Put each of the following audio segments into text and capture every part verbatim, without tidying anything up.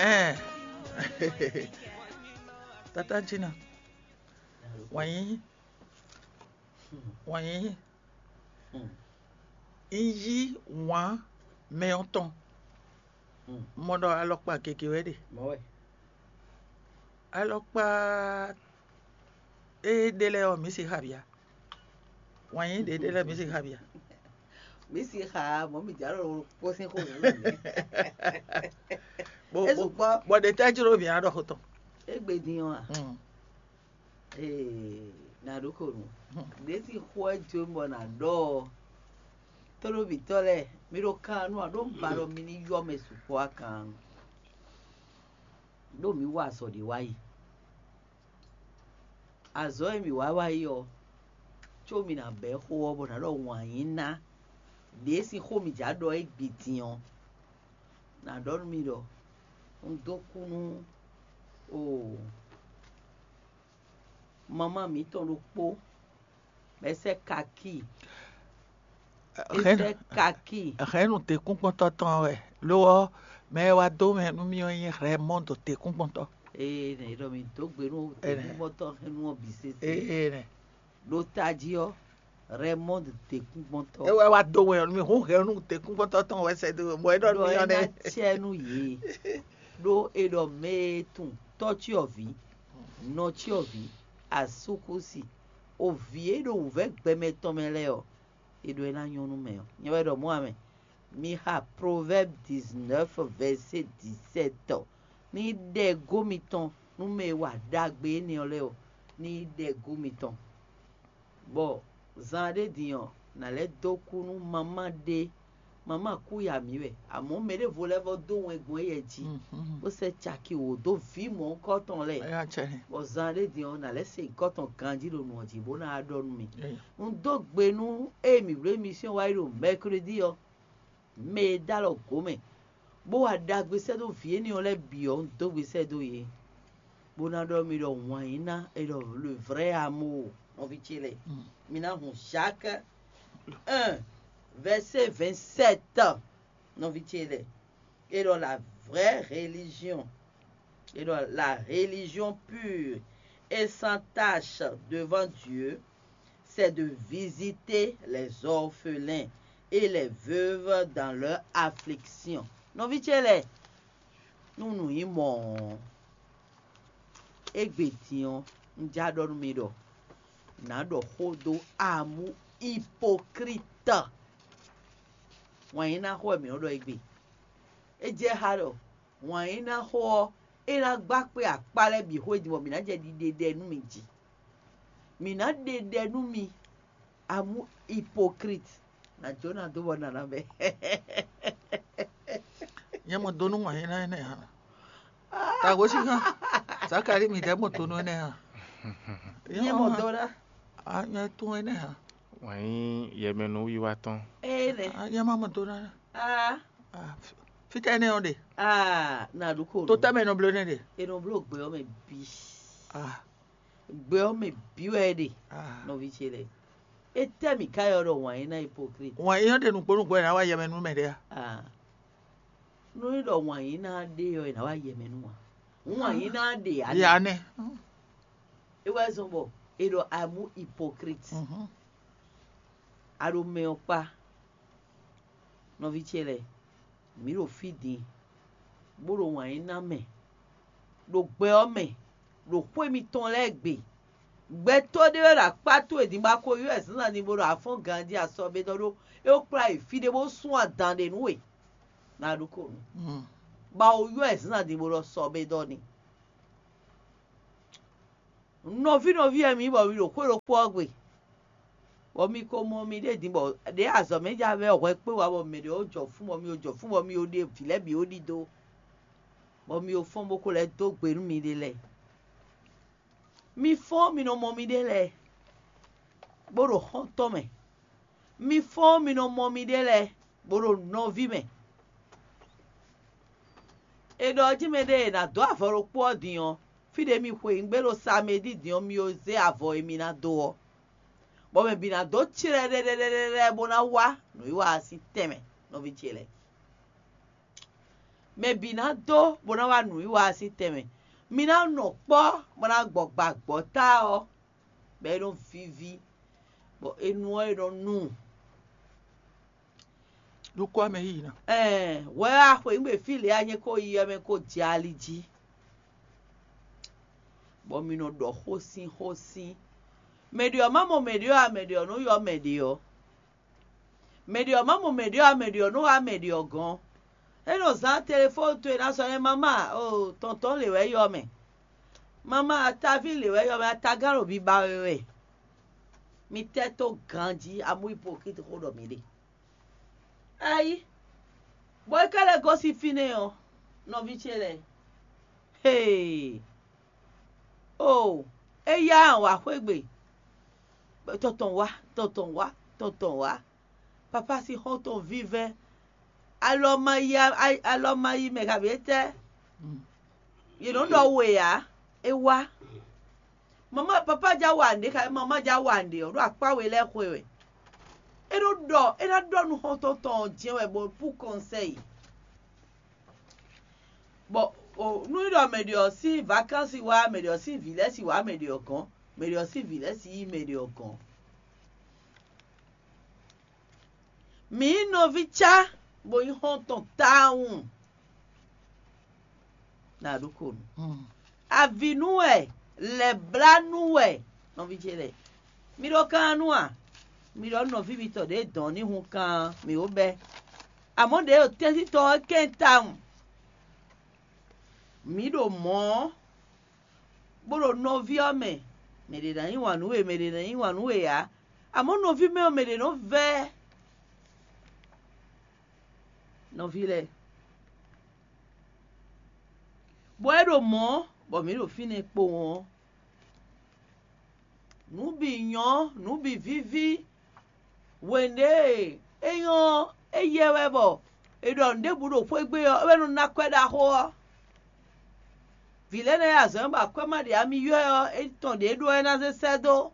Ɛn. Tata Jina, wǎnyí, wǎnyí, un yí wǎn mɛ ɔ́ tɔn. Mɔ ɖɔ alɔkpa gěgé wɛ ɖe. Alɔkpa e ɖe lɛ́ɛ ɔ́, mǐ si xabia. Wǎnyí ɖě ɖe lɛ́ɛ, mǐ si xabia. Mǐ si xa mɔ̌ mi jǎ ɖo kpó sín xó wǔ mɛ. Bó É bó sukpɔ́. Bó ɖe tɛ́ jló mǐ á ɖɔ xó tɔn. Égbé din ɔ́ a? Mm. Ee, nǎ ɖó xo nǔ. Ɖě sín xó ɛ jó bɔ nǎ ɖɔ ɔ́, tónúbítɔ́ lɛ́ɛ, mi ɖo kan nú a ɖó un ba ɖɔ mi ní yɔ mɛ sukpɔ́ a kan. Ɖó mǐ wa azɔ̌ ɖé wá yi. Azɔ̌ e mǐ wá wá yi ɔ́, có mǐ ná bɛ̌ xó ɔ́ bɔ nǎ ɖɔ wǎn yí ná ɖě sín xó mǐ jǎ ɖɔ é gbi din ɔ́, nǎ ɖɔ nú mi ɖɔ un dó kú nú oo mamá mǐtɔn ɖokpó bɔ é sɛ́ kakíi. É sɛ́ kakíi. Hɛ̌nnu tɛ́nkpɔ́ntɔ́ tɔn wɛ, lo ɔ́, mɛ e wá dó mɛ nú mì ɔ́ nyí Rɛmɔ́ndo tɛ́nkpɔ́ntɔ́. Ee, nɛ ɖɔ mi dó gbe nú tɛ́nkpɔ́ntɔ́ hɛ́nnu ɔ́ bǐ sésé. Ee, nɛ. Ɖo tají ɔ́, Rɛmɔ́ndo tɛ́nkpɔ́ntɔ́. É wɛ wá dó wɛ nú mì, hún hɛ̌nnu tɛ́nkpɔ́ntɔ́ tɔn wɛ sɛ́ dó, bɔ é ɖɔ nú Ɖɔ mì é ɔ́ ná nɛ́. Cɛ nú yě, ɖó è ɖɔ mɛ e tunwun tɔ́ cyɔ́vǐ, nɔ cyɔ́vǐ, asúkúsi, o vǐ e ɖo wǔvɛ́ gbɛmɛ tɔn mɛ lɛ́ɛ ɔ́, è ɖɔ é ná nyɔ́ nú mɛ ɔ́. Nyɛ wɛ ɖɔ mɔ̌ ǎ mɛ. Mi xa Proverbes dix-neuf verset dix-sept ɔ́, ní ɖɛgó mitɔn nú mɛ e wa ɖagbe énɛ́ ɔ́ lɛ́ɛ ɔ́, ní ɖɛgó mitɔn. Bɔ zan ɖé din ɔ́, nǎ lɛ́ dó kú nú mamá ɖé. Mamá kú ya mǐ wɛ, amɔ̌ mɛ ɖěvo lɛ́ vɔ́ dó wɛn gbɔn éyɛ́ jí, bó sɛ́ caki wǒ dó vǐ mɔ̌hunkɔtɔn lɛ́ɛ. Bɔ zan ɖé din ɔ́, nǎ lɛ́ se nyǐkɔ tɔn ganjí ɖo nǔ ɔ́ jí, bó ná wá ɖɔ nú mi. Un dó gbe nú ée mǐ bló émisíɔn wá yi ɖo mɛkredi ɔ́, mɛ e dó alɔ gǒ mɛ, bó wa ɖagbe sɛ́ dó vǐ énɛ́ ɔ́ lɛ́ɛ bǐ ɔ́, un dó gbe sɛ́ dó yě, bó ná ɖɔ mi ɖɔ wǎn yí ná, è ɖɔ le vrai amour, nɔví ce lɛ́ɛ. Mi ná hun Jacques un, verset vingt-sept, nɔví ce lɛ́ɛ. Et dans la vraie religion, et dans la religion pure et sans tache devant Dieu, c'est de visiter les orphelins et les veuves dans leur affliction. Nɔví ce lɛ́ɛ, nú nǔ nyí mɔ̌ ɔ́, égbé din ɔ́, un já ɖɔ nú mi ɖɔ nǎ ɖɔ xó dó amú hypocrite. Wǎn yí ná xó wɛ mǐ nɔ ɖɔ égbé. É jɛ xá ɖɔ wǎn yí ná xó ɔ́, é ná gbá kpé akpá lɛ́ɛ bǐ xwé din bɔ mǐ ná jɛ ɖiɖe ɖɛ nú mi jí. Mǐ ná ɖe ɖɛ nú mi, amú hypocrite. Nǎ jó ná dó bɔ nǎ ná bɛ́. Nyɛ mɔ dó nú wǎn yí ná énɛ́ hǎn. Tagosíkan, Zakalíi mi ɖɛ̌ mɔ to nú énɛ́ a? Nyɛ mɔ dó ná. A nyɛ tún énɛ́ a? Wǎn nyí yɛmɛnúwiwa tɔn. Énɛ́. A nyɛ má mɔ dó ná. A. A, fí- fítɛ́ énɛ́ ɔ́ ɖe? A, na ɖu ko. To tɛ́ mɛ nɔ bló énɛ́ ɖe? E nɔ bló gbɛ ɔ́ mɛ bǐ. A. Gbɛ ɔ́ mɛ bǐ wɛ é ɖe. A. Nɔví ce lɛ́ɛ. Étɛ́ mǐ ká ylɔ́ ɖɔ wǎn é ná hypocrite? Wǎn é nyɔ́ ɖe nǔgbó nǔgbó ɛ ná wá yɛmɛnú mɛ ɖé a? A. Nú é ɖɔ wǎn yí ná ɖe ɔ́, è nǎ wá yɛ mɛ nú ǎ. Hǔn wǎn yí ná ɖe ǎ. Ya nɛ́. É wɛ zɔ́n bɔ è ɖɔ amú hypocrite. Mhm. A ɖo mɛ ɔ́ kpá. Nɔví ce lɛ́ɛ, mǐ ɖo fí din, bó ɖo wǎn yí ná mɛ, ɖo gbɛ ɔ́ mɛ, ɖo xwé mitɔn lɛ́ɛ gbe. Gbɛtɔ́ ɖé wɛ ɖo akpá towe din bó ná ko ylɔ́ ɛ zǎnzǎn din bó ɖo afɔ́n ganjí asɔbédɔ́ ɖó é wó kplá yi fí ɖé bó sún adǎn ɖe nú we. Ná ɖu ko nú. Mm. Bɔ a wǒ ylɔ́ ɛ zǎnzǎn din bó ɖɔ sɔbédɔ́ ni. Nɔví nɔví wɛ mi bɔ mi ɖo xwé ɖokpó ɔ́ gbe, bɔ mi ko mɔ miɖée din bɔ ɖě azɔ̌ mɛ ja vɛ́ hwɛ kpé wá bɔ mɛ ɖě ó jɔ fún bɔ mi ó jɔ fún bɔ mi ó ɖe vǐ lɛ́ɛ bǐ ó ɖidó, bɔ mi ó fɔ́n bó ko lɛ́ dó gbe nú miɖée lɛ́ɛ. Mi fɔ́n mi nɔ mɔ miɖée lɛ́ɛ, bó ɖo xɔ́ntɔn mɛ. Mi fɔ́n mi nɔ mɔ miɖée lɛ́ɛ, bó ɖo nɔví mɛ. È ɖɔ jí mɛɖée è nǎ dó avɔ ɖokpó ɔ́ din ɔ́, fí ɖě mi xweyǐgbe ɖo samedí din ɔ́, mi ó zé avɔ e mi ná dó ɔ́, bɔ mɛ bǐ ná dó clɛɖɛɖɛɖɛɖɛ bó ná wá nǔwiwa ɔ́ sín tɛnmɛ, nɔví ce lɛ́ɛ. Mɛ bǐ ná dó bó ná wá nǔwiwa ɔ́ sín tɛnmɛ. Mi ná nɔ kpɔ́ bó ná gbɔ gbǎgbɔ́ ta ɔ́, bɔ é nɔ víví, bɔ é nu ɔ́ é nɔ nu. Ɖó kɔ́ mɛ yíyí ná. Ɛɛ, hwɛ wá xweyǐgbe fí lě anyɛ ko yi ɔ́ mɛ ko jɛ ali jí, bɔ mi nɔ ɖɔ xósin xósin. Mɛ ɖě ɔ́ má mɔ mɛ ɖě ɔ́ ǎ, mɛ ɖě ɔ́ nɔ ylɔ́ mɛ ɖě ɔ́. Mɛ ɖě ɔ́ má mɔ mɛ ɖě ɔ́ ǎ, mɛ ɖě ɔ́ nɔ wá mɛ ɖě ɔ́ gɔ́n. É nɔ zán telefɔ́nu towe ná sɔ́ nɛ́ mama o tɔntɔn lě wɛ ylɔ́ mɛ. Mama ataví lě wɛ ylɔ́ mɛ, atagán ɖo biba we wɛ. Mi tɛ́ tó ganjí amú hypocrite xó ɖɔ mi ɖe. Ayi, bɔ é ka lɛ́ gosín fínɛ́ ɔ́, nɔví ce lɛ́ɛ. Hee! Oo, é yá wǎ xwé gbe. Tɔn tɔn wá, tɔn tɔn wá, tɔn tɔn wá. Papá sín xɔ́ntɔn vívɛ́. Alɔ ma yi alɔ ma yi mɛ kabi étɛ́? Yě nɔ ɖɔ we ǎ, é wá. Mama papá já wa nǔɖé, kabi mama já wa nǔɖé ɔ́, ɖo akpá we lɛ́ɛ xwe wɛ. É nɔ ɖɔ, é ná ɖɔ nú xɔ́ntɔn tɔn ɔ́ jɛ́n wɛ bɔ pú kɔnsɛ́yi. Bɔ nú é ɖɔ mɛ ɖě ɔ́ sín vakansi wá, mɛ ɖě ɔ́ sín vǐ lɛ́ɛ si wá mɛ ɖě ɔ́ gɔ́n, mɛ ɖě ɔ́ sín vǐ lɛ́ɛ si yí mɛ ɖě ɔ́ gɔ́n. Mǐ nyí nɔví cá bó nyí xɔ́ntɔn tawun. Na ɖó ko nu. Avǐ nú wɛ, lɛ̌blá nú wɛ, nɔví ce lɛ́ɛ. Mi ɖó kan nú a? Mi ɖɔ nɔví mitɔn ɖě dɔn ní hun kan mǐ ó bɛ́. Amɔ̌ ɖě ɖo tɛ́ntin tɔn ɔ́ kɛn tawun. Mǐ ɖo mɔ̌, bó ɖo nɔví ɔ́ mɛ, mɛ ɖě ná yí wǎn nú we, mɛ ɖě ná yí wǎn nú we ǎ. Amɔ̌ nɔví mɛ ɔ́, mɛ ɖě nɔ vɛ́ nɔví lɛ́ɛ, bɔ é ɖo mɔ̌, bɔ mǐ ɖo fínɛ́ kpowun ɔ́. Nǔ bǐ nyɔ́, nǔ bǐ víví. Hwěɖée é nyɔ́ é yɛ wɛ bɔ è ɖɔ nǔ ɖěbǔ ɖo xwé gbe ɔ́, é wɛ nɔ ná akwɛ́ ɖaxó ɔ́. Vǐ lɛ́ɛ nɔ yi azɔ̌ ba akwɛ́ ma ɖě ami ylɔ́ ɛ ɔ́, é tɔn ɖě ɖó ɛ ná zé sɛ́ dó.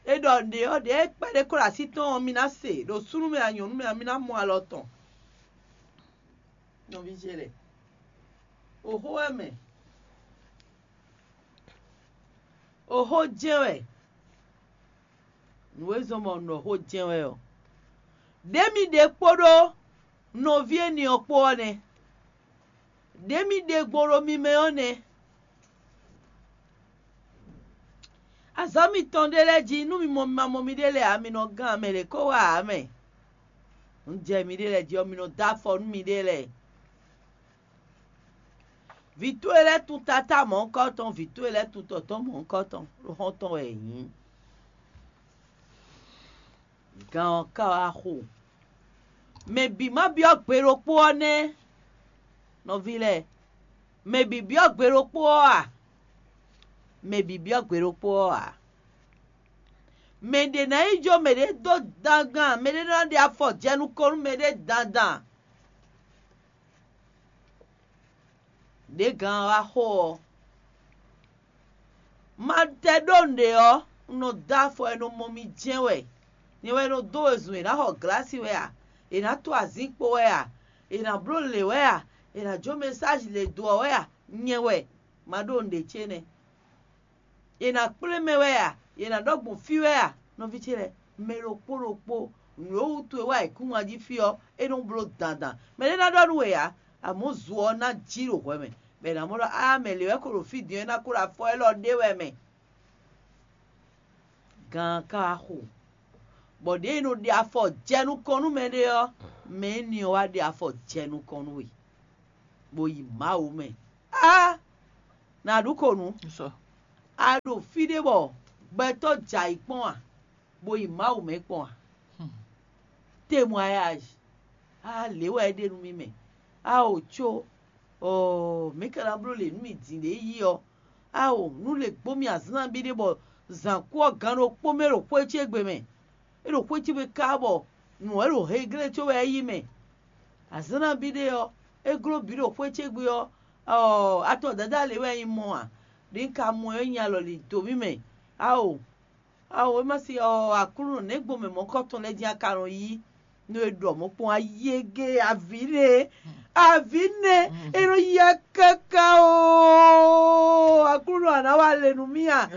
É ɖɔ nǔɖé ɔ́, ɖěe kpɛɖé ko ɖo así tɔn ɔ́, mi ná se, ɖo súnnu mɛ a nyɔ̌nu mɛ a, mi ná mɔ alɔ tɔn. Nɔví ce lɛ́ɛ, oxó wɛ mɛ, oxó jɛ́n wɛ, nǔ e zɔ́n bɔ un ɖɔ xó jɛ́n wɛ ɔ́, ɖě mi ɖe kpódó nɔví énɛ́ ɔ́ kpó ɔ́ nɛ́. Ɖě mi ɖe gbɔn ɖo mi mɛ ɔ́ nɛ́. Azɔ̌ mitɔn ɖé lɛ́ɛ jí, nú mi mɔ mi ma mɔ miɖée lɛ́ɛ ǎ, mi nɔ gán mɛ ɖě kó wá ǎ mɛ. Un jɛ miɖée lɛ́ɛ jí ɔ́, mi nɔ dó afɔ nú miɖée lɛ́ɛ. Vǐ towe lɛ́ɛ tún tatá mɔ̌hunkɔtɔn, vǐ towe lɛ́ɛ tún tɔtɔ́ mɔ̌hunkɔtɔn, ɖó xɔ́ntɔn wɛ yě nyí. Gan ɔ́ ka wá xo. Mɛ bǐ ma byɔ́ gbe ɖokpó ɔ́ nɛ́, nɔví lɛ́ɛ. Mɛ bǐ byɔ́ gbe ɖokpó ɔ́ a? Mɛ bǐ byɔ́ gbe ɖokpó ɔ́ ǎ. Mɛ ɖě ná yi jó mɛɖé dó dandan, mɛɖé ná ɖe afɔ jɛ nukɔn nú mɛɖé dandan. Ɖě gan ɔ́ wá xo ɔ́, ma tɛ ɖó nǔɖé ɔ́, un nɔ dó afɔ e nɔ mɔ mi jɛ́n wɛ. Nyɛ wɛ nɔ dó wezun è nǎ xɔ glǎsi wɛ a? È nǎ to azǐn kpo wɛ a? È nǎ bló lě wɛ a? È nǎ jó mɛsáji lě dó ɔ́ wɛ a? Nyɛ wɛ, ma ɖó nǔɖé ce nɛ́. È nǎ kplé mɛ wɛ a? È nǎ ɖɔ gbɔn fí wɛ a? Nɔví ce lɛ́ɛ, mɛ ɖokpó ɖokpó, nǔ e wútu è wá ayǐkúngban jí fí ɔ́, é nɔ bló dandan. Mɛ ɖé ná ɖɔ nú we ǎ, amɔ̌ zo ɔ́ ná jí ɖo hwɛ mɛ, bɔ è nǎ mɔ ɖɔ á mɛ lě wɛ ko ɖo fí din ɔ́, é ná ko ɖo afɔ élɔ́ ɖé wɛ mɛ. Gan ka wá xo, bɔ ɖěe è nɔ ɖe afɔ jɛ nukɔn nú mɛɖé ɔ́, mɛ énɛ́ ɔ́ wá ɖe afɔ jɛ nukɔn nú we, bó yi Mawu mɛ. Á! Nǎ ɖu ko nǔ. A ɖo fí ɖé bɔ gbɛtɔ́ jɛ ayǐ kpɔ́n a, bó yi Mawu mɛ kpɔ́n a? Témoignage. Á lě wɛ é ɖe nú mì mɛ. Á o có, ɔɔ, mɛ̌ ka ná bló lě nú mì din ɖě yí ɔ́? Á o, nú lě gbó mì azǎn nabí ɖé bɔ zǎn kú ɔ́ gan ɖokpó mɛ ɖo xwé ce gbe mɛ. É ɖo xwé ce gbe káká bɔ nǔ ɔ́ ɖo heglé có wɛ é yí mɛ. Azǎn nabí ɖé ɔ́, é gló bǐ ɖo xwé ce gbe ɔ́, ɔɔ, atɔ dadá lě wɛ nyí mɔ a? Ɖě un ka mɔ ɔ́, é nyi alɔ lǐ dó mì mɛ. Á o, á o, é má se ɔɔ, Aklúnɔ, nɛ̌ gbɔn mɛ mɔ̌kɔtɔn lɛ́ɛ dín a ka nɔ yí? Nú e ɖɔ mɔ̌ kpɔ́n ayége avǐ nɛ, avǐ nɛ, é nɔ ya káká oo. Aklúnɔ a nǎ wa le nú mì a?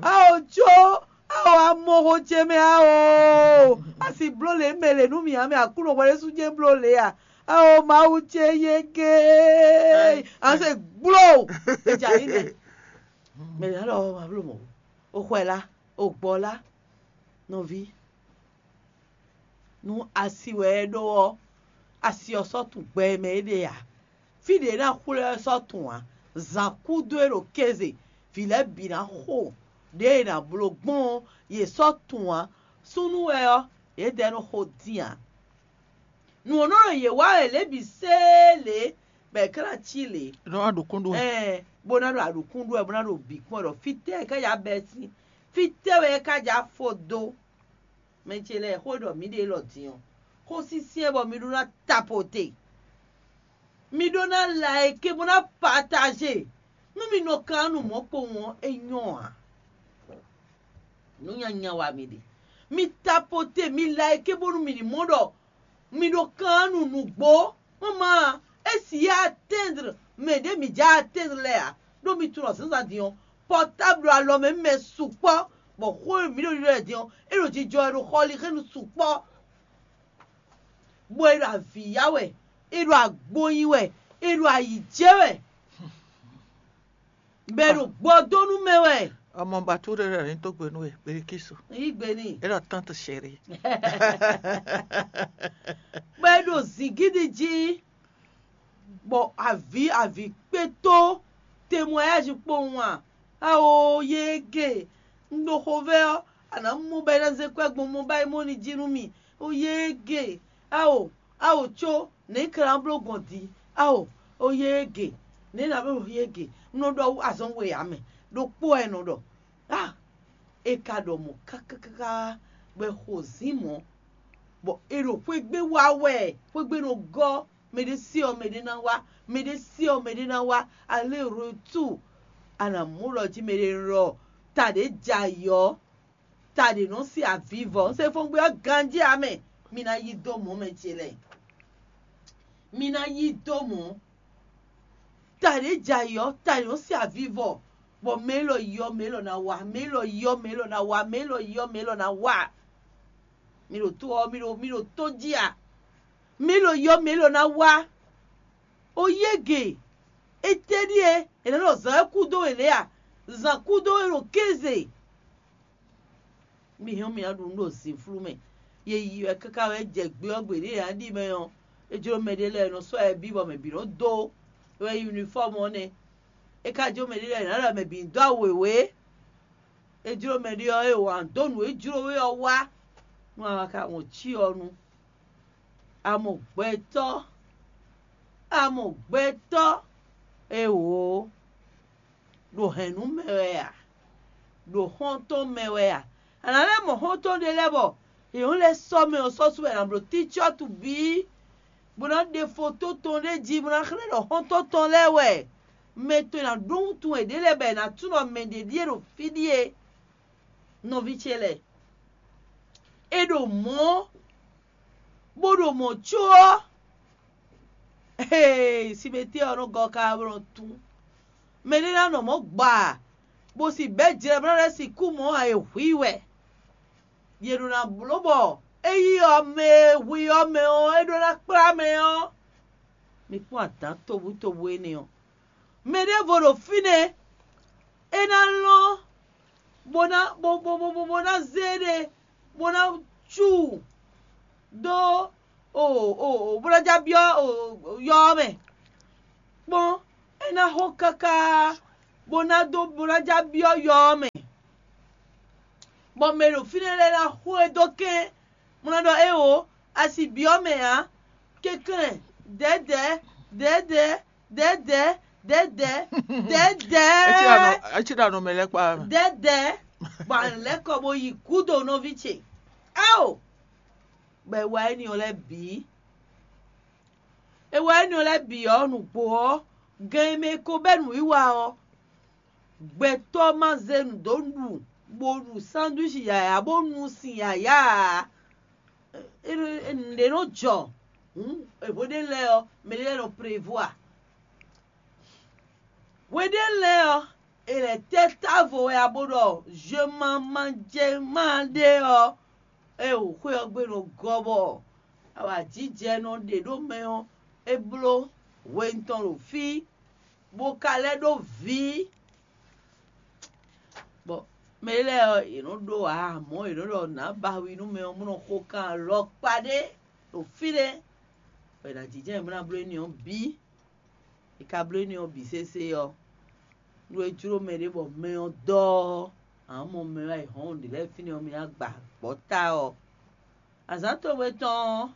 Ao có, ao amɔxo ce mɛ ao. A si bló lě mɛ lě nú mì ǎ mɛ, Aklúnɔ hwɛ ɖésú jɛ́n bló lě a? Ao Mawu ce yége, a se gbló. E jɛ ayǐ nɛ. Mɛ ná ɖɔ ma bló mɔ̌. O xwɛ lá, o gbɔ lá, nɔví. Nú asi wɛ é ɖó ɔ́, asi ɔ́ sɔ́ tunwun gbɛ e mɛ é ɖe ǎ. Fí ɖě é ná xwlé ɔ́ sɔ́ tunwun ǎ. Zǎn kúdó e ɖo kéze, vǐ lɛ́ɛ bǐ ná xo ɖěe è nǎ bló gbɔn ɔ́, yě sɔ́ tunwun ǎ. Súnnu wɛ ɔ́, yědɛɛ nɔ xo dín ǎ. Nǔ ɔ́ nɔ ɖo yě wa wɛ lě bǐ sée lě, bɔ è ka ná cí lě. Nɔ wá ɖo kúnɖu wɛ. Ɛɛ, bó ná ɖo aɖǔkún ɖu wɛ, bó ná ɖo bǐ kpɔ́n ɖɔ fítɛ́ è ká ya bɛ́ sín, fítɛ́ wɛ é ká ja fó dó. Mɛ ce lɛ́ɛ, xó e ɖɔ mǐ ɖe élɔ́ din ɔ́, xó syɛ́nsyɛ́n bɔ mi ɖó ná tapote. Mi ɖó ná like bó ná partager. Nú mi nɔ kan nú mɔ̌ kpowun ɔ́, é nyɔ́ ǎ. Nǔ nyanya wa mi ɖe. Mi tapote, mi like bónú mi ní mɔ ɖɔ mi ɖo kan nú nǔgbó. Mama, é si yá atteindre mɛ ɖě mi já atteindre lɛ́ɛ ǎ. Ɖó mi tunɔ zǎnzǎn din ɔ́, portable alɔ mɛ mɛ sukpɔ́, bɔ xó e mǐ ɖo ɖiɖɔ din ɔ́, é ɖo jijɔ wɛ ɖo xɔlixɛ́nu sukpɔ́. Bɔ é ɖo avǐ ya wɛ, é ɖo agbo nyi wɛ, é ɖo ayǐ jɛ wɛ, bɔ é ɖo gbɔdónú mɛ wɛ. Ọmọ Bature rẹ̀ ní tó gbénú ẹ̀ pé kíso. Yí gbe n'i. É ɖɔ tante chérie. Bɔ é ɖo zǐngídi jí, bɔ avǐ avǐ kpétó témoignage kpowun a? Ao yége, un ɖo xovɛ́ ɔ́, a nǎ mɔ bɔ é ná zé kwɛ́ gbɔn mɔ bɔ é mɔ ní jí nú mì. O yége, ao, ao có, nɛ̌ ka ná bló gbɔn din? Ao, o yége, nɛ̌ ná bló yége? Un nɔ ɖɔ azɔn we ǎ mɛ, ɖokpó wɛ è nɔ ɖɔ. A, è ka ɖɔ mɔ̌ kákákáká, bɔ è xo zǐn mɔ̌, bɔ è ɖo xwé gbe wa wɛ, xwé gbe nɔ gɔ́, mɛɖé se ɔ́ mɛɖé ná wá, mɛɖé se ɔ́ mɛɖé ná wá, aller retour. A nǎ mɔ ɖɔ jí mɛɖé ɖɔ ta ɖě jɛ ayǐ ɔ́, ta ɖě nɔ se avivɔ, un se fɔ́ngbé ɔ́ ganjí ǎ mɛ. Mi ná yí dó mɔ̌ mɛ ce lɛ́ɛ, mi ná yí dó mɔ̌. Ta ɖě jɛ ayǐ ɔ́, ta ɖě nɔ se avivɔ, bɔ mɛ élɔ́ yi ɔ́, mɛ élɔ́ ná wá, mɛ élɔ́ yi ɔ́, mɛ élɔ́ ná wá, mɛ élɔ́ yi ɔ́, mɛ élɔ́ ná wá. Mi ɖo tó ɔ́, mi ɖo mi ɖo tó jí a? Mi ɖo yɔ mi ɖo ná wá. O yége, étɛ́ ɖíe è nǎ ɖɔ zǎn wɛ kú dó we lě a? Zǎn kú dó we ɖo kéze. Mi hɛn mi ná ɖu nǔ ɖo zǐnflú mɛ. Ye yi wɛ káká wɛ jɛ gbé ɔ́ gbe ɖě è nǎ ɖi mɛ ɔ́, é jló mɛɖé lɛ́ɛ nɔ sɔ́ yɛ bí bɔ mɛ bǐ nɔ dó. É wɛ nyí unifɔ́mu ɔ́ nɛ́. É ka jló mɛɖé lɛ́ɛ nǎ ɖɔ mɛ bǐ ní dó awu wěwé. É jló mɛɖé ɔ́, é wǎn dó nǔ e jló we ɔ́ wá, nú a ma ka wɔn cyɔ nu. A mɔ gbɛtɔ́, a mɔ gbɛtɔ́, éwǒ, ɖo hɛ̌nnu mɛ wɛ a? Ɖo xɔ́ntɔn mɛ wɛ a? A nǎ lɛ́ mɔ xɔ́ntɔn ɖé lɛ́ɛ bɔ yě nɔ lɛ́ sɔ́ mɛ ɔ́ sɔ́ sú wɛ è nǎ bló tícɔ́tu bǐ, bó ná ɖe fotó tɔn ɖé jí, bó ná xlɛ́ ɖɔ xɔ́ntɔn tɔn lɛ́ɛ wɛ. Mɛ tɔn e ná ɖó wuntun wɛ ɖě lɛ́ɛ bɔ è nǎ tunɔ mɛ ɖě ɖíe ɖo fí ɖíe. Nɔví ce lɛ́ɛ, è ɖo mɔ̌, bó ɖo mɔ̌ có ɔ́, simɛtɛ́ ɔ́ nɔ gɔ́ káká bó nɔ tún. Mɛ ɖé ná nɔ mɔ̌ gbaa, bó si bɛ̌ jlɛ bó ná lɛ́ sixú mɔ̌ ǎ, è hu i wɛ. Yě ɖo ná bló bɔ é yí ɔ́ mɛ e hu i ɔ́ mɛ ɔ́, é ɖó ná kplá mɛ ɔ́. Mi kpɔ́n adǎn tobutóbú énɛ́ ɔ́. Mɛ ɖěvo ɖo fínɛ́, é ná lɔ́n bó ná bó bó bó bó bó ná zé ɖe bó ná cu dó o o o bó ná já byɔ́ o yɔ ɔ́ mɛ. Kpɔ́n, é ná xo káká bó ná dó bó ná já byɔ́ yɔ ɔ́ mɛ. Bɔ mɛ ɖo fínɛ́ lɛ́ɛ ná xo e dó kɛ́n, bó ná ɖɔ éeǒ, a si byɔ́ mɛ ǎ. Kɛnklɛ́n, dɛ̌dɛ̌, dɛ̌dɛ̌, dɛ̌dɛ̌, dɛ̌dɛ̌, dɛ̌dɛ̌. É cí ɖo anɔ mɛ lɛ́ɛ kpa mɛ. Dɛ̌dɛ̌, bɔ a lɛ́ kɔ bó yi gúdo nɔví ce. Ao! Bɔ è wa énɛ́ ɔ́ lɛ́ɛ bǐ. È wa énɛ́ ɔ́ lɛ́ɛ bǐ ɔ́, nǔgbó ɔ́, gan e mɛ è ko bɛ́ nǔwiwa ɔ́, gbɛtɔ́ ma zé nǔ dó ɖu, bó ɖu sandwíchi yǎyá, bó nu sin yǎyá ǎ. Nǔɖé nɔ jɔ hǔn hweɖé lɛ́ɛ ɔ́, mɛ ɖé lɛ́ɛ nɔ prévoir. Hweɖé lɛ́ɛ ɔ́, è lɛ̌ tɛ́ távo wɛ a bo ɖɔ zhwemamajɛma ɖé ɔ́, é wǒ xwé ɔ́ gbe nɔ gɔ́ bɔ awǎjijɛ nɔ ɖe ɖó mɛ ɔ́, é bló hwenu tɔn ɖo fí, bó ka lɛ́ ɖó vǐ. Bɔ mɛ lɛ́ɛ ɔ́, yě nɔ ɖó ǎ, amɔ̌ yě nɔ ɖɔ nǎ ba wi nú mɛ ɔ́, bó nɔ xo kan alɔkpa ɖé ɖo fí ɖé, bɔ è nǎ jínjɔ́n ayǐ bó ná bló énɛ́ ɔ́ bǐ. È ka bló énɛ́ ɔ́ bǐ sésé ɔ́, nú é jló mɛɖé bɔ mɛ ɔ́ dɔ ɔ́, a nǎ mɔ mɛ wá yi hɔn ɖě lɛ́ɛ fínɛ́ ɔ́, mi ná gba gbɔ̌ ta ɔ́. Azǎn towe tɔn ɔ́,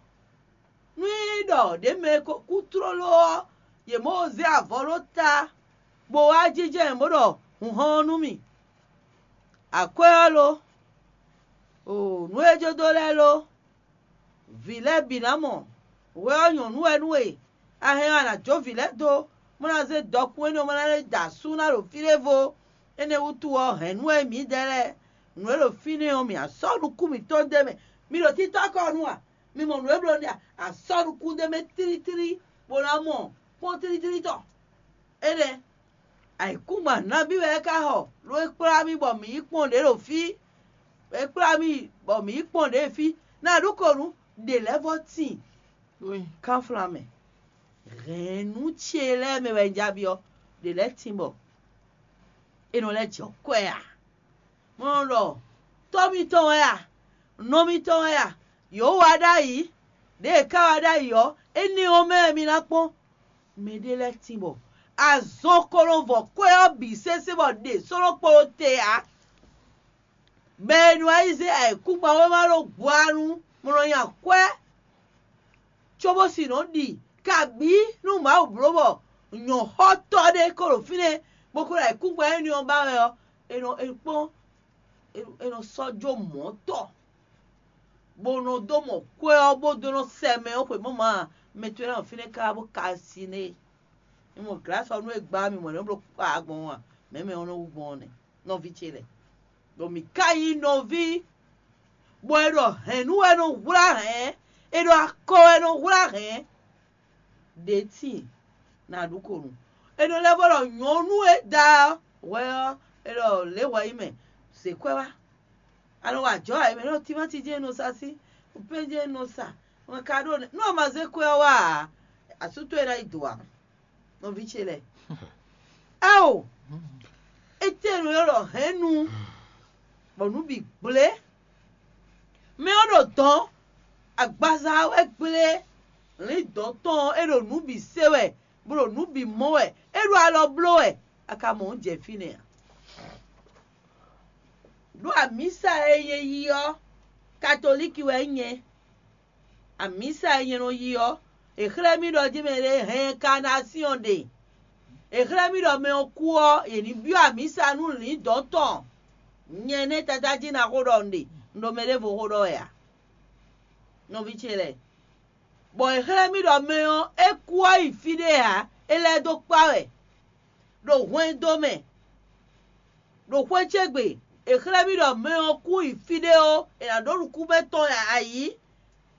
nú é ɖɔ ɖě mɛ e ko kú tlóló ɔ́, yě mɔ zé avɔ ɖó ta, bó wá jínjɔ́n ɛ bó ɖɔ: "Hun hɔn ɔ́ nú mì." Akwɛ́ ɔ́ lo? Oo, nǔ e jó dó lɛ́ɛ lo? Vǐ lɛ́ɛ bǐ ná mɔ. Hwɛ ɔ́ nyɔ̌nu wɛ nú we. A hɛn ɔ́, a nǎ jó vǐ lɛ́ɛ dó, bó ná zé dɔkun énɛ́ ɔ́, bó ná lɛ́ da asú ná ɖo fí ɖěvo. Énɛ́ wútu ɔ́, hɛ̌nnu wɛ mǐdɛɛ lɛ́ɛ. Nǔ e ɖo fínɛ́ ɔ́, mǐ á sɔ́ nukún mǐtɔn d'é mɛ. Mi ɖo títɔ́ kɔ nu a? Mi mɔ nǔ e bló nɛ́ a? A sɔ́ nukún d'é mɛ tlítlí, bó ná mɔ kpɔ́n tlítlí tɔn. Énɛ́, ayǐkúngban nabí wɛ é ka xɔ, ɖó é kplá mì bɔ mǐ yi kpɔ́n ɖě ɖo fí. É kplá mì bɔ mǐ yi kpɔ́n ɖě fí. Ná a ɖó ko nú ɖě lɛ́ɛ vɔ́ tíin kánflán mɛ. Hɛ̌nnu ce lɛ́ɛ mɛ wɛ un ja byɔ́, ɖě lɛ́ɛ tíin bɔ è nɔ lɛ́ jɛ kwɛ a? Mɔ nɔ ɖɔ: "Tɔ́ mitɔn wɛ a? Nɔ mitɔn wɛ a? Yǒ wa ɖ'ayǐ, ɖěe è ká wa ɖ'ayǐ ɔ́, énɛ́ ɔ́ mɛ wɛ mi ná kpɔ́n." Mɛɖé lɛ́ɛ tíin bɔ azɔn ko nɔ vɔ kwɛ́ ɔ́ bǐ sésé bɔ ɖě sɔ́ nɔ kpo ɖó te ǎ. Bɔ è nɔ wá yi zé ayǐkúngban wéma ɖó gbɔ̌ ɔ́ nu, bó nɔ nya kwɛ́, cóbó sin nɔ ɖi kabǐ nú Mawu bló bɔ nyɔ̌xɔtɔ́ ɖé ko ɖo fínɛ́, bó ko ɖo ayǐkúngban énɛ́ ɔ́ ba wɛ ɔ́, è nɔ è kpɔ́n, è nɔ sɔ́ jó mɔ̌ tɔ, bó nɔ dó mɔ kwɛ́ ɔ́, bó dó nɔ sɛ mɛ ɔ́ xweyǐmɔ mɛ towe lɛ́ɛ nɔ fínɛ́ káká bó ka sin nú é. Mi mɔ glǎsɔ́ nú e gbá mi mɔ nɛ̌ bló kpa gbɔn ɔ́ a? Mɛ̌ mɛ ɔ́ nɔ wú gbɔn ɔ́ nɛ́, nɔví ce lɛ́ɛ. Ɖɔ mǐ ka nyí nɔví, bɔ è ɖɔ hɛ̌nnu wɛ nɔ hwlá hɛ̌n, è ɖɔ akɔ wɛ nɔ hwlá hɛ̌n. Ɖě tíin, nǎ ɖu ko nu. È nɔ lɛ́ vɔ ɖɔ nyɔ̌nu e da hwɛ ɔ́, è ɖɔ lě hwɛ yi mɛ, zě kwɛ́ wá. A nɔ wa ajɔ̌ ǎ, è mɛ ɖɔ timáti jɛ́n è nɔ sa sí, pɛ́n jɛ́n è nɔ sa, wɛn ka ɖo nɛ́. Nú a ma zé kwɛ́ ɔ́ wá ǎ, asú towe ná yi do ǎ. Nɔví ce lɛ́ɛ. Ao! Étɛ́ nɔ ylɔ́ ɖɔ hɛ̌nnu, bɔ nǔ bǐ gblé. Mɛ ɔ́ ɖo dɔ̌n, agbaza wɛ gblé, lǐndɔ̌n tɔn ɔ́, é ɖo nǔ bǐ se wɛ, bó ɖo nǔ bǐ mɔ wɛ, é ɖo alɔ bló wɛ, a ka mɔ nǔ jɛ fínɛ́ a? Ɖó amǐsa e nyɛ yi ɔ́, katolíki wɛ nyɛ. Amǐsa e nyɛ nɔ yi ɔ́, è xlɛ́ mì ɖɔ jí mɛ ɖé hɛn kanásyɔn ɖe. È xlɛ́ mì ɖɔ mɛ ɔ́ kú ɔ́, yě ní byɔ́ amǐsa nú lǐndɔ̌n tɔn. Nyɛ nɛ́ Tata jí ná xó ɖɔ un ɖe, un ɖo mɛ ɖěvo xó ɖɔ wɛ ǎ. Nɔví ce lɛ́ɛ, bɔ è xlɛ́ mì ɖɔ mɛ ɔ́, é kú ɔ́ yi fí ɖé ǎ, é lɛ́ dó kpá wɛ ɖo hwɛndo mɛ. Ɖo xwé ce gbe, è xlɛ́ mì ɖɔ mɛ ɔ́ kú yi fí ɖé ó, è nǎ ɖó nukúnmɛ tɔn ayǐ,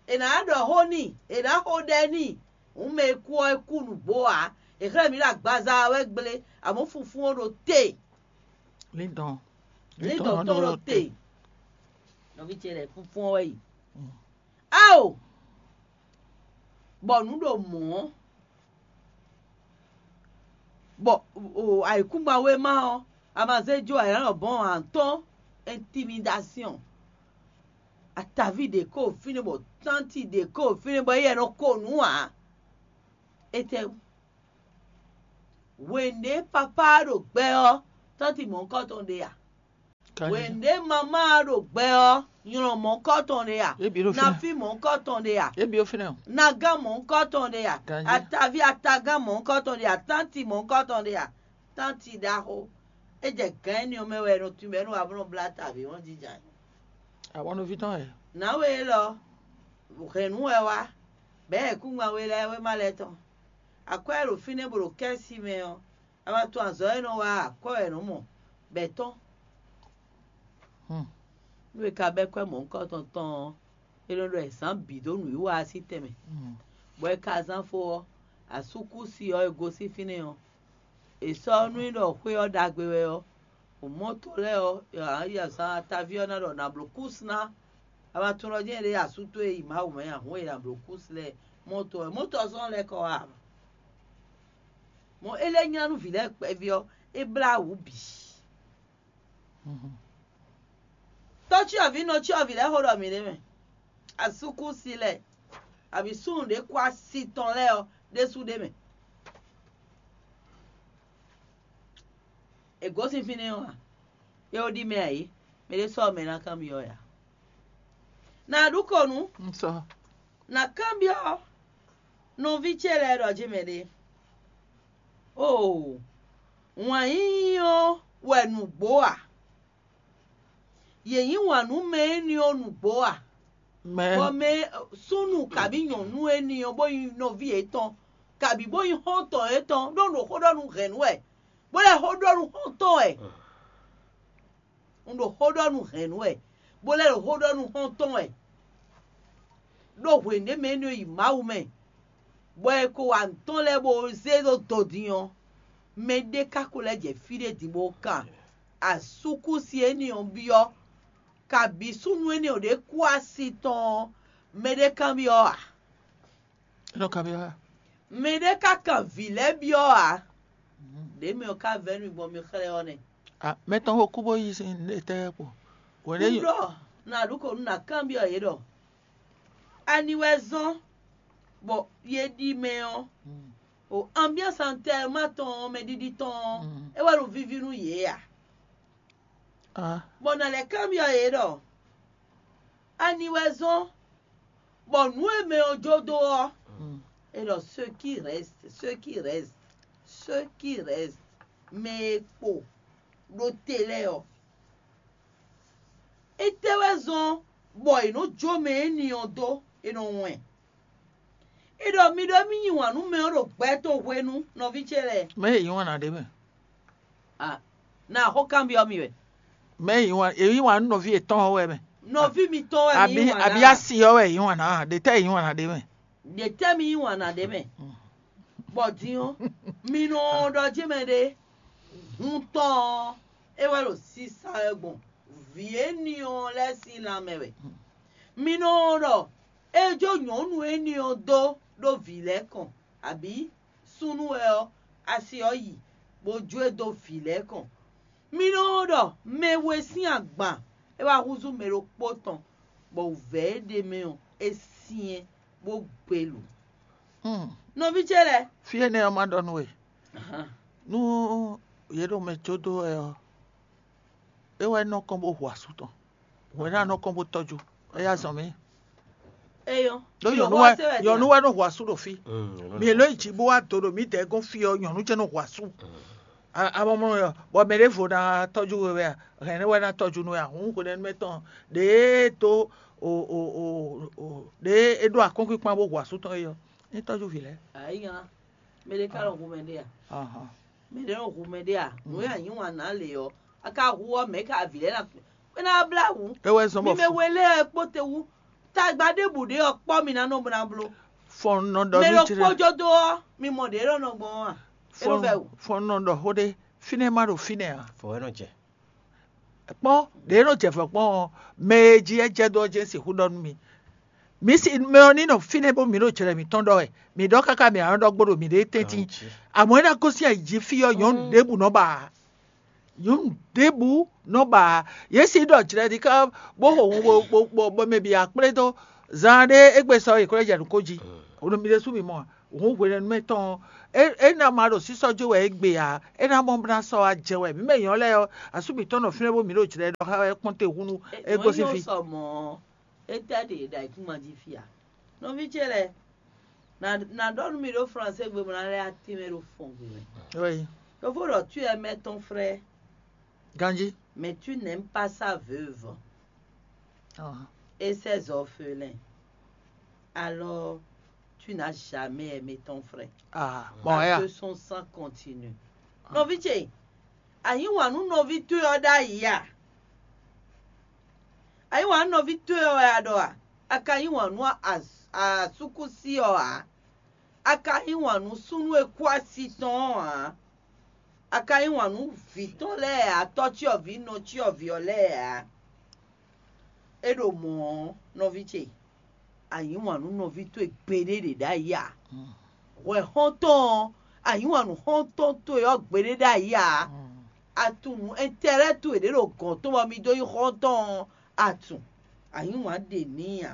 è nǎ ɖɔ xó n'i, è nǎ xo ɖɛ n'i. Hǔn mɛ e kú ɔ́, é kú nǔgbó ǎ. È xlɛ́ mǐ ɖɔ agbaza ɔ́ wɛ gblé, amɔ̌ funfún ɔ́ ɖo te. Líndɔn. Líndɔn tɔn ɖo te. Nɔví ce lɛ́ɛ, funfún ɔ́ wɛ yi. Ao! Bɔ nǔ ɖo mɔ̌, bɔ ayǐkúngban wéma ɔ́, a ma zé jó ayǎnɔ bɔ́n ǎ tɔn, intimidation. Ataví ɖě ko fínɛ́ bɔ tánti ɖě ko fínɛ́ bɔ éyɛ́ nɔ ko nǔ ǎ. Étɛ́wú? Hwenu ɖě papá ɖo gbɛ ɔ́, tánti mɔ̌hunkɔtɔn ɖe a? Hwenu ɖě mamá ɖo gbɛ ɔ́, nylɔn mɔ̌hunkɔtɔn ɖe a? Nafi mɔ̌hunkɔtɔn ɖe a? Nagán mɔ̌hunkɔtɔn ɖe a? Ataví atagán mɔ̌hunkɔtɔn ɖe a? Tánti mɔ̌hunkɔtɔn ɖe a? Tánti ɖaxó. É jɛ gǎn énɛ́ ɔ́ mɛ wɛ è nɔ tunwun bɔ é nɔ wa bó nɔ blá ta avǐ hɔn jija. Awɔnɔví tɔn wɛ. Nǎwe élɔ́, hɛ̌nnu wɛ wá, bɛ̌ ayǐkúngban we lɛ́ɛ wéma lɛ́ɛ tɔn. Akwɛ́ e ɖo fínɛ́ bó ɖo kɛ́si mɛ ɔ́, a ma tunwun azɔ̌ e nɔ wa akwɛ́ wɛ è nɔ mɔ, bɔ è tɔ́n. Nú è ka bɛ́ kwɛ́ mɔ̌hunkɔtɔn tɔn ɔ́, È nɔ ɖɔ è zǎn bǐ dó nǔwiwa ɔ́ sín tɛnmɛ, bɔ è ka zán fó ɔ́, asúkúsi ɔ́ e gosín fínɛ́ ɔ́, è sɔ́ nú i ɖɔ xwé ɔ́ ɖagbe wɛ ɔ́, mɔ̌to lɛ́ɛ ɔ́, azǎn ataví ɔ́ ná ɖɔ nǎ bló kúsi ná. A ma tunwun ɖɔ jɛ́n è ɖe asú towe yi Mawu mɛ a, hǔn e nǎ bló kúsi lɛ́ɛ mɔ̌to wɛ, mɔ̌to ɔ́ sɔ́ lɛ́ kɔ wá ǎ. Mɔ̌ é lɛ́ nylá nú vǐ lɛ́ɛ kpɛví ɔ́, é blá wǔ bǐ. Tɔ́cyɔvǐ nɔ cyɔvǐ lɛ́ɛ xó ɖɔ mǐ ɖ'é mɛ. Asúkúsi lɛ́ɛ, abǐ súnnu ɖě kú asi tɔn lɛ́ɛ ɔ́ ɖésú ɖ'é mɛ. È gosín fínɛ́ ɔ́ a? É ó ɖi mɛ ǎ é, mɛ ɖé sɔ́ mɛ ná kanbyɔ́ ɛ ǎ. Nǎ ɖu kɔnu, Un sɔ. Nǎ kanbyɔ́ nɔví ce lɛ́ɛ ɖɔ jɛ́n mɛ ɖé. Oo, wǎn yíyí ɔ́ wɛ nǔgbó a? Yě yí wǎn nú mɛ énɛ́ ɔ́ nǔgbó a? Mɛ Bɔ mɛ súnnu kabí nyɔ̌nu énɛ́ ɔ́ bó nyí nɔví yětɔn, kabí bó nyí xɔ́ntɔn yětɔn, ɖó un ɖo xó ɖɔ nú hɛ̌nnu wɛ, bó lɛ́ xó ɖɔ nú xɔ́ntɔn wɛ. Un ɖo xó ɖɔ nú hɛ̌nnu wɛ, bó lɛ́ ɖo xó ɖɔ nú xɔ́ntɔn wɛ. Ɖó hwěnu ɖé mɛ énɛ́ yi Mawu mɛ, bɔ è ko wa nǔ tɔn lɛ́ɛ bó zé ɖó dodin ɔ́, mɛ ɖé ka ko lɛ́ jɛ fí ɖé din bó kan asúkúsi énɛ́ ɔ́ byɔ́, kabǐ súnnu énɛ́ ɔ́ ɖě kú asi tɔn ɔ́, mɛ ɖé kanbyɔ́ ǎ. É nɔ kanbyɔ́ ǎ. Mɛ ɖé ka kan vǐ lɛ́ɛ byɔ́ ǎ. Ɖě mɛ ɔ́ ka vɛ́ nú mi gbɔn mi xlɛ́ ɔ́ nɛ́. Ah, mɛ tɔn xo kú bó yí sin étɛ́ kpo. Hwɛ̌n Un ɖé ɖɔ nǎ ɖu kɔ nú nǎ kanbyɔ́ yě ɖɔ: Ani wɛ zɔ́n bɔ yě ɖi mɛ ɔ́, o ambiance antɛma tɔn ɔ́, mɛɖiɖi tɔn ɔ́, é wɛ ɖo víví nú yě a? Ah, Bɔ nǎ lɛ́ kanbyɔ́ yě ɖɔ: Ani wɛ zɔ́n bɔ nǔ e mɛ ɔ́ jó dó ɔ́, mm. É ɖɔ: Ceux qui restent, ceux qui restent, ceux qui restent, mɛ e kpo ɖo te lɛ́ɛ ɔ́, étɛ́ wɛ zɔ́n bɔ è nǒ jó mɛ énɛ́ ɔ́ dó? È nɔ wɛn. È ɖɔ mi ɖɔ émí yí wǎn nú mɛ ɔ́ ɖo gbɛ tɔn hwenu, nɔví ce lɛ́ɛ. Mɛ e yí wǎn ná ɖe mɛ. A, na xó kanbyɔ́ mi wɛ. Mɛ e yí wǎn, è yí wǎn nú nɔví yětɔn ɔ́ wɛ mɛ. Nɔví mitɔn wɛ mi Abi yí wǎn abi ná. Asi ɔ́ wɛ è yí wǎn ná, ɖě tɛ́ è yí wǎn ná ɖe mɛ. Ɖě tɛ́ mi yí wǎn ná ɖe mɛ. Bɔ din ɔ́, mi nɔ ɖɔ jí mɛ ɖé, hun tɔn ɔ́, é wɛ ɖo sisa wɛ gbɔn vǐ énɛ́ ɔ́ lɛ́ɛ sín lanmɛ wɛ. Mi nɔ ɖɔ é jó nyɔ̌nu énɛ́ ɔ́ dó ɖó vǐ lɛ́ɛ kɔn, abǐ súnnu wɛ ɔ́, asi ɔ́ yi, bó jó e dó vǐ lɛ́ɛ kɔn. Mi nɔ ɖɔ mɛ we sín agban é wá húzú mɛ ɖokpó tɔn, bɔ wǔvɛ́ e ɖ'é mɛ ɔ́, é syɛ́n bó gbelǔ. Hmm. Nɔví ce lɛ́ɛ, Fí énɛ́ ɔ́ ma ɖɔ nú we. Ahan. Nú yě ɖo mɛ jó dó wɛ ɔ́, é wɛ nɔ kɔn bó hu asú tɔn. Hwɛ̌ ná nɔ kɔn bó tɔ́jú. É yá zɔn mì. Eyɔn. Ɖó nyɔ̌nu wɛ nyɔ̌nu wɛ nɔ hu asú ɖo fí. Mi ló yi jǐ bó wá do ɖo mǐdɛɛ gɔ́n fí ɔ́, nyɔ̌nu jɛ́n nɔ hu asú. Amɔmlɔ ɔ́, bɔ mɛ ɖěvo ná tɔ́jú we wɛ a? Hɛn nɛ́ wɛ ná tɔ́jú nú we a? Hǔn hwenɛ́nu mɛ tɔn ɖěe dó o o o o ɖěe é ɖó akɔ́nkpinkpan bó hu asú tɔn é ɔ́, ní tɔ́jú vǐ lɛ́ɛ. Ayi hàn, mɛ ɖé ká nɔ hu mɛ ɖé a? Ahàn. Mɛ ɖé nɔ hu mɛ ɖé a? Nǔ e anyǐ wǎn ná lě ɔ́, a ka hu ɔ́, mɛ̌ ka vǐ lɛ́ɛ ná kpé ná blá wǔ? É wɛ zɔ́n bɔ mi mɛ we lɛ́ɛ kpó te wú. Tagba ɖěbǔ ɖé ɔ́ kpɔ́ mi ná nɔ bó ná bló. Fɔn nɔ ɖɔ Mɛ nú ɖokpó jlɛ. Jó dó ɔ́, mi mɔ ɖě nɔ nɔ gbɔn ɔ́ a? É nɔ Fɔn vɛ wǔ. Fɔn nɔ ɖɔ xó ɖé. Fínɛ́ má ɖo fínɛ́ ǎ. Fɔ wɛ nɔ jɛ. Kpɔ́n ɖě nɔ jɛ vɔ̌ kpɔ́n ɔ́, mɛ e jí é jɛ dó ɔ́ jɛ́n sixú ɖɔ nú mi. Mǐ si mɛ ɔ́ ní nɔ fínɛ́ bó mǐ ɖo jlɛ mǐtɔn ɖɔ wɛ. Mǐ ɖɔ káká mǐ ǎ nɔ ɖɔ gbo ɖo mǐɖée tɛ́ntin. Amɔ̌ é ná gosín ayǐ jí fí ɔ́, nyɔ̌nu ɖěbǔ nɔ ba ǎ. Nyɔ̌nu ɖěbǔ nɔ ba ǎ. Yě si ɖɔ jlɛ ɖi ká bó xo hun bó bó bó bó mɛ bǐ akplé dó. Zan ɖé égbé sɔ yě ko lɛ́ jɛ nǔ ko jí. Hwenu mi ɖésú mi mɔ ǎ. Hǔn hwenɛ́nu mɛ tɔn ɔ́, é é ná ma ɖo sísɔ́ jó wɛ égbé ǎ. É ná mɔ bó ná sɔ́ wá jɛ wɛ. Mǐ mɛ nyɔ̌ lɛ́ɛ ɔ́, asú mǐtɔn nɔ fínɛ́ bó mǐ ɖo jlɛ ɖɔ xá wɛ kpɔ́n te húnú é gosín fí. Sɔ mɔ̌, étɛ́ ɖe ɖo ayǐkúngban jí fí a? Nɔví ce lɛ́ɛ, nǎ nǎ ɖɔ nú mi ɖó Fransé gbe bó ná lɛ́ atín mɛ ɖo fɔn gbe mɛ. Oui. Ɖokpó ɖɔ tu wɛ mɛ tɔn frɛ. Ganjí. Mais tu n'aimes pas sa veuve Ah. Et ses orphelins. Alors, tu n'as jamais aimé ton frère. Ah, bon, Parce ya. Que son sang continue. Nɔví ce, a yí wǎn nú nɔví towe ɔ́ ɖ'ayǐ a? A yí wǎn nú nɔví towe ɔ́ wɛ a ɖɔ a? A ka yí wǎn nú asúkúsi ɔ́ ǎ; a ka yí wǎn nú súnnu e kú asi tɔn ɔ́ ǎ; a ka yí wǎn nú vǐ tɔn lɛ́ɛ ǎ, tɔ́cyɔvǐ nɔcyɔvǐ ɔ́ lɛ́ɛ ǎ. É ɖo mɔ̌ ɔ́, nɔví ce, a yí wǎn nú nɔví towe gbeɖé ɖě ɖ'ayǐ ǎ. Hwɛ xɔ́ntɔn ɔ́, a yí wǎn nú xɔ́ntɔn towe ɔ́ gbeɖé ɖ'ayǐ ǎ. A tunwun nǔ ɛntɛ́lɛ́ towe ɖě ɖo gɔ̌n tɔn bɔ mi dó nyí xɔ́ntɔn ɔ́, a tunwun. A yí wǎn ɖe n'i ǎ,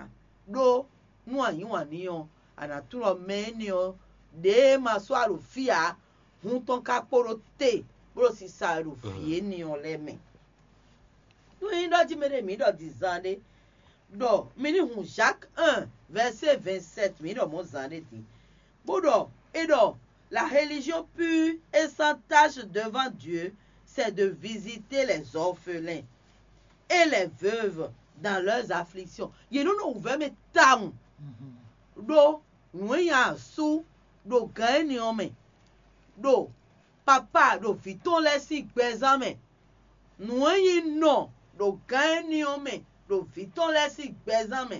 ɖó nú a yí wǎn n'i ɔ́, a nǎ tunwun ɖɔ mɛ énɛ́ ɔ́, ɖěe ma sɔ́ alǒ fí ǎ, hun tɔn ka kpo ɖo te bó ɖo sisa wɛ ɖo vǐ énɛ́ ɔ́ lɛ́ɛ mɛ. Nú é nyí ɖɔ jí mɛ ɖé mǐ ɖɔ din zan ɖé, ɖɔ mi ní hun Jacques un, verset vingt-sept, mǐ ɖɔ mɔ̌ zan ɖé din, bó ɖɔ é ɖɔ: La religion pure et sans tache devant Dieu, c'est de visiter les orphelins et les veuves dans leurs afflictions. Yě nɔ nɔ wǔvɛ́ mɛ tawun, ɖó nǔ e nyi asú ɖo gǎn énɛ́ ɔ́ mɛ, ɖo papá ɖo vǐ tɔn lɛ́ɛ sín gbɛzán mɛ, nǔ e nyí nɔ ɖo gǎn énɛ́ ɔ́ mɛ ɖo vǐ tɔn lɛ́ɛ sín gbɛzán mɛ.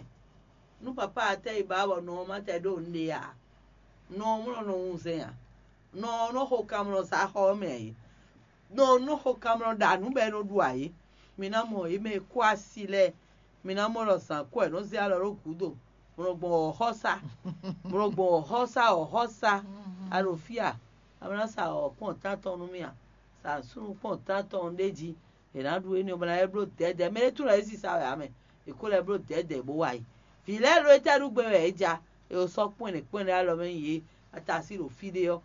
Nú papá ɔ́ tɛ yi ba bɔ nɔ ɔ́ ma tɛ ɖó nǔɖé ǎ, nɔ ɔ́ mlɔ́ nɔ wunzɛn ǎ; nɔ ɔ́ nɔ xo kanmlɔ zǎn xɔ ɔ́ mɛ ǎ é. Nɔ ɔ́ nɔ xo kanmlɔ ɖa nǔ bɔ é nɔ ɖu ǎ é. Mi ná mɔ yě mɛ e kú asi lɛ́ɛ; mi ná mɔ ɖɔ zǎn kú wɛ è nɔ zé alɔ ɖó gǔdo, bó nɔ gbɔn wɔ̌xɔ́sá, bó nɔ gbɔn wɔ̌xɔ́sá wɔ̌xɔ́sá. A ɖo fí a? A ma ná sa wɔ̌ kpɔ́n tántɔn nú mì a? Sa súnnu kpɔ́n tántɔn ɖ'é jí. È nǎ ɖu énɛ́ ɔ́, bó ná lɛ́ bló dɛ̌dɛ̌. Mɛ ɖé tunwun wɛ é sisa wɛ ǎ mɛ; è ko lɛ́ bló dɛ̌dɛ̌ bó wá yi. Vǐ lɛ́ɛ ɖó étɛ́ ɖu gbé wɛ é ja? È sɔ́ kpɔ́n ɛnɛ kpɔ́n ɛnɛ alɔ mɛ nyi yě, a ta así ɖo fí ɖé ɔ́.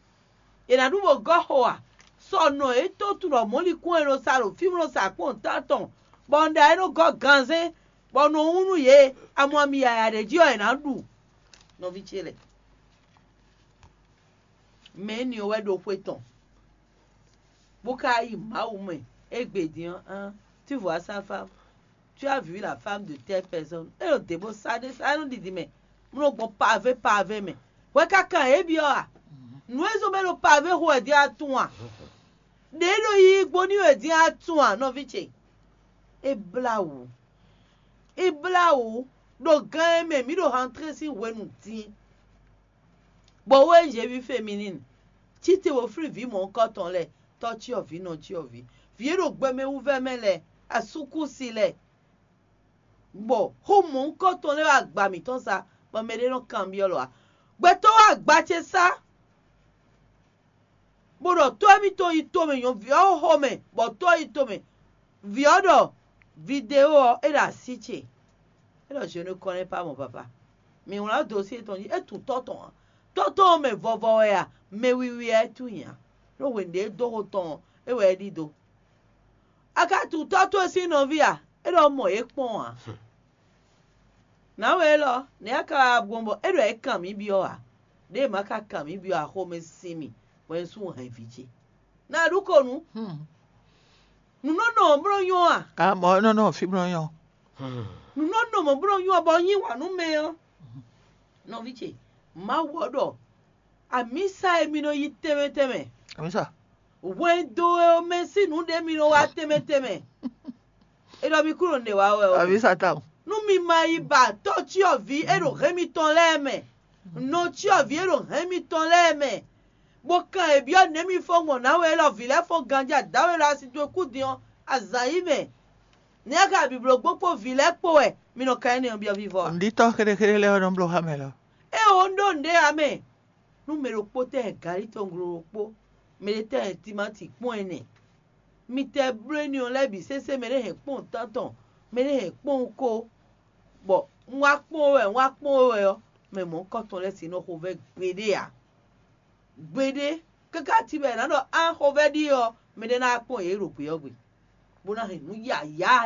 È nǎ ɖu bó gɔ́ xo a? Sɔ nɔ yětɔn tunwun ɖɔ mɔ̌likún e nɔ sa ɖo fí bó nɔ sa kpɔ́n tántɔn, bɔ un ɖa é nɔ gɔ́ ganzɛ́n, bɔ un nɔ wún nú yě, amɔ ami yǎyá ɖě jí ɔ́, è nǎ ɖu. Nɔví ce lɛ́ɛ, mɛ énɛ́ ɔ́ wɛ ɖo xwé tɔn, bó ka yi Mawu mɛ égbé din ɔ́, tu vois sa femme, tu as vu la femme de telle personne, é ɖo dě bó sa ɖé sa, é nɔ ɖiɖi mɛ, bó nɔ gbɔn pavé pavé mɛ. Hwɛ ka kan yě byɔ́ a? Nǔ e zɔ́n bɔ é ɖo pavé xo wɛ din a tunwun a? Ɖě e ɖo yiyi gbo n'i wɛ din a tunwun a, nɔví ce? É blá wǔ. É blá wǔ ɖo gán e mɛ mǐ ɖo hantlé sín hwenu din. Bɔ wɛ Jeví Feminine cí te bó flín vǐ mɔ̌hunkɔtɔn lɛ́ɛ, tɔ́ cyɔvǐ, nɔ cyɔvǐ, vǐ e ɖo gbɛmɛ wú vɛ́ mɛ lɛ́ɛ, asúkúsi lɛ́ɛ, bɔ xó mɔ̌hunkɔtɔn lɛ́ɛ wá agba mǐtɔn sa, bɔ mɛɖé nɔ kanbyɔ́ lɔ ǎ. Gbɛtɔ́ wá agba ce sá, bó ɖɔ tɔ́ émítɔn yi tomɛ nyɔ̌ vǐ ɔ́ xo mɛ, bɔ tɔ́ yi tomɛ. Vǐ ɔ́ ɖɔ: "Vidéo ɔ́, é ɖo así ce." É ɖɔ: "Je ne connais pas mon papa." Mǐ wlán dó sí tɔn jí, é tunwun tɔ́ tɔn ǎ. Tɔ́ tɔn ɔ́ mɛ vɔvɔ wɛ a, mɛ wiwi wɛ é tunwun ǎ. Ɖó hwenu ɖě é dó xo tɔn ɔ́, é wɛ é ɖidó. A ka tunwun tɔ́ towe sín nɔví a? É ɖɔ mɔ yě kpɔ́n ǎ. Nǎwe élɔ́, nɛ̌ a ka wá gbɔn bɔ é ɖɔ é kan mǐ byɔ́ ǎ? Ɖěe ma ka kan mǐ byɔ́ ǎ, xomɛ sin mì, bɔ nyɛ sú hɛn vǐ ce. Nǎ ɖu ko nǔ. Nǔ nɔ nɔ mɔ̌ bló nyɔ́ a? Amɔ̌ nɔ nɔ fí bló nyɔ́. Nǔ nɔ nɔ mɔ̌ bló nyɔ́ bɔ nyí wǎ nú mɛ ɔ́. Nɔví ce, Mawu ɔ́ ɖɔ: "Amǐsa e mi nɔ yi tɛnmɛ tɛnmɛ, amǐsa, hwɛndo e mɛ sín nǔ ɖé mi nɔ wá tɛnmɛ tɛnmɛ." É ɖɔ mi kúrò nǔɖé wá wɛ ó. Amǐsa tawun. Nú mi ma yi ba tɔ́ cyɔvǐ e ɖo hɛn mitɔn lɛ́ɛ mɛ, nɔ cyɔvǐ e ɖo hɛn mitɔn lɛ́ɛ mɛ, bó kan è byɔ́ nɛ̌ mi fɔ́n gbɔn nǎwe élɔ́ vǐ lɛ́ɛ fɔ́n ganjí adáwe élɔ́ asi towe kú din ɔ́, azǎn yí mɛ. Nɛ̌ a ka bǐbló gbó kpó vǐ lɛ́ɛ kpó wɛ mi nɔ kan énɛ́ ɔ́ byɔ́ vívɔ́ a? Ɖitɔ́ xéɖéxéɖé lɛ́ɛ ɔ́ nɔ bló xá mɛ lɔ. Ée ó ɖó nǔɖé ǎ mɛ. Nú mɛ ɖokpó tɛ hɛn galí tɔn glo ɖokpó, mɛ ɖé tɛ hɛn timáti kpɔ́n ɛnɛ, mi tɛ bló énɛ́ ɔ́ lɛ́ɛ bǐ sésé, mɛ ɖé hɛn kpɔ́n tántɔn, mɛ ɖé hɛn kpɔ́n ko, bɔ un wá kpɔ́n we wɛ, un wá kpɔ́n we wɛ ɔ́, mɛ mɔ̌hunkɔtɔn lɛ́ɛ sixú nɔ xo vɛ́ gbeɖé ǎ. Gbeɖé, káká cí bɔ è nǎ ɖɔ á xo vɛ́ ɖíe ɔ́, mɛ ɖé ná wá kpɔ́n yě ɖo gbě ɔ́ gbe, bó ná hɛn nǔ yǎyá